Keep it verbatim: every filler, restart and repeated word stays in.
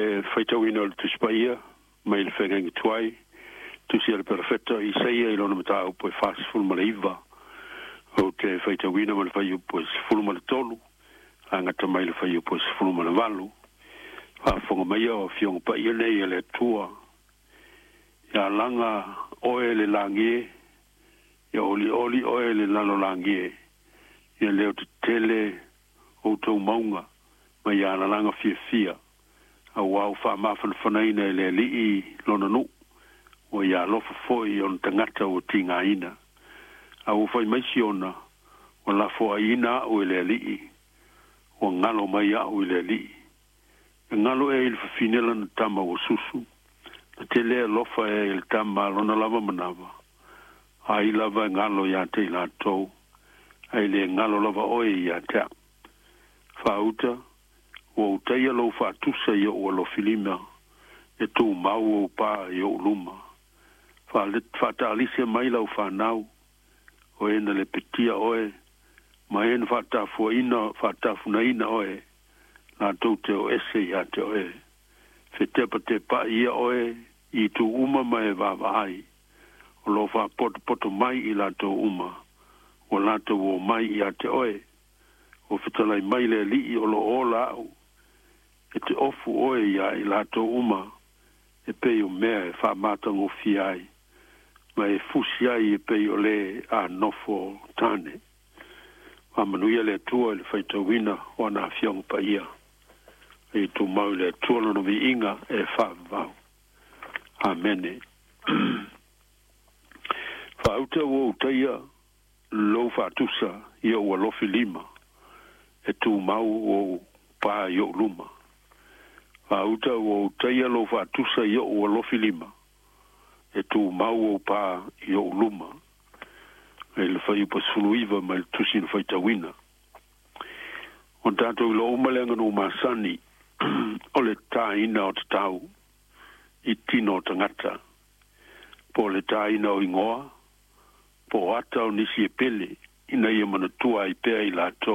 Le faitauina o le Tusi Paia mai le Feagaiga Tuai, tusi a le Perofeta Isaia i lona mataupu e fasefulu ma le iva. Ou te faitauina ma le fuaiupu e sefulu ma le tolu, agata mai le fuaiupu e sefulu ma le valu. Faafofoga maia o Afioga Paia nei a le Atua. Ia laga oe le lagi e, ia olioli oe le lalolagi e, ia leo tetele outou mauga ma ia alalaga fiafia, auā ua faamafanafanaina e le Alii lona nuu, ua ia alofa foi i ona tagata ua tigaina. A ua fai mai Siona, Ua lafoaiina au e le Alii, ua galo mai au i le Alii. E galo ea i le fafine lana tama ua susu, na te le alofa ea i le tama a lona lava manava? Ai lava e galo ia te i latou, ae le galo lava oe ia te au. Faauta, ua ou taia lou faatusa i ou alofilima, e tumau ou pa i ou luma. Faataalise mai lau fanau, o e na lepetia oe, ma e na faatafuaina, faatafunaina oe, latou te o ese ia te oe. Fetepatepa'i ia oe i itu uma ma e vaavaai, o lo o faapotopoto mai i latou uma, ua latou omai ia te oe. Ua fetalai mai le Alii o lo o ola au, e te ofu oe iā i latou uma e pei o mea e faamatagofie ai, ma e fusi ai e pei o le a nofo tane. Faamanuia le Atua i le faitauina o ana Afioga Paia. A ia tumau i le Atua Lona viiga e faavavau. Amene. Faauta ua ou taia lou faatusa i ou alofi lima, e tumau ou pa i ou luma. Faauta ua ou taia lou faatusa i ou alofi lima, e tumau ou pa i ou luma. I le fuaiupu sefulu iva mai le tusi na faitauina. O tatou iloa uma le aganuu masani o le tāina o tatau i tino o tagata, po o le tāina o igoa, po o ata o nisi e pele, ina ia manatua ai pea i latou.